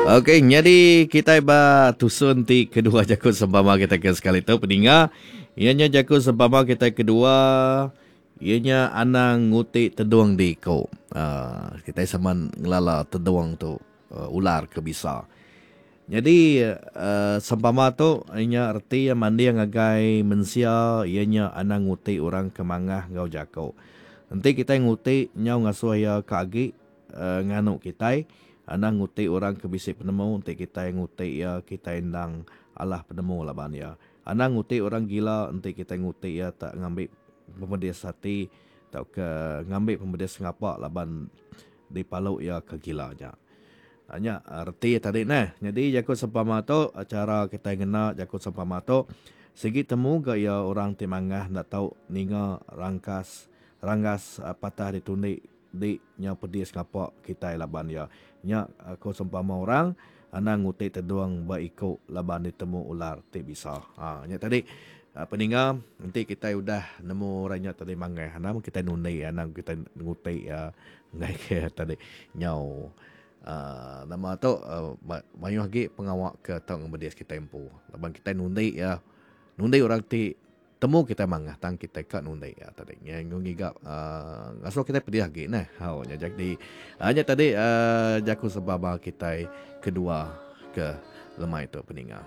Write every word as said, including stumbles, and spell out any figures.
Okey, nyadi kitai ba tusun ti kedua jaku sempama kitai ke sekali tu peninga. Iya nya jaku sempama kitai kedua iya nya anang nguti tedung di iku. Uh, kitai sama ngelala tedung tu uh, ular ke bisa. Nyadi uh, sempama tu iya reti iya manding ngagai mensia iya nya anang nguti orang ke mangah enggau jaku. Enti kitai nguti nyau ngasuh iya ke agi uh, nganu kitai. Anang nguti orang ke bisi penemu enti kitai nguti iya kitai endang alah penemu laban iya. Anang nguti orang gila enti kitai nguti iya tak ngambi pemedis ati tauka ngambi pemedis ngapa laban dipalu iya ke gila nya. Nya reti tadi neh. Nyadi jaku sempama tu chara kitai ngena jaku sempama tu sigi temu ga iya orang ti mangah enda tau ninga rangkas ranggas patah ditundi di nyau pedis ngapa kitai laban iya. Nya ko sempama orang anang nguti tedung ba iku laban ditemu ular ti bisa. Ha nya tadi peninga enti kitai udah nemu orang nya tadi mangah anang kitai nundi anang kitai nguti iya enggai ke tadi nyau uh, nama tu uh, mayuh agi pengawa ke tau ngemedis kitai empu laban kitai nundi iya nundi orang ti temu kitai mangah tang kitai ka nundi ya tadi. Nya ngiga uh, ngasuh kitai pedih agi neh. Hau nya jadi uh, nya tadi uh, jaku sempama kitai kedua ke lemai tu peninga.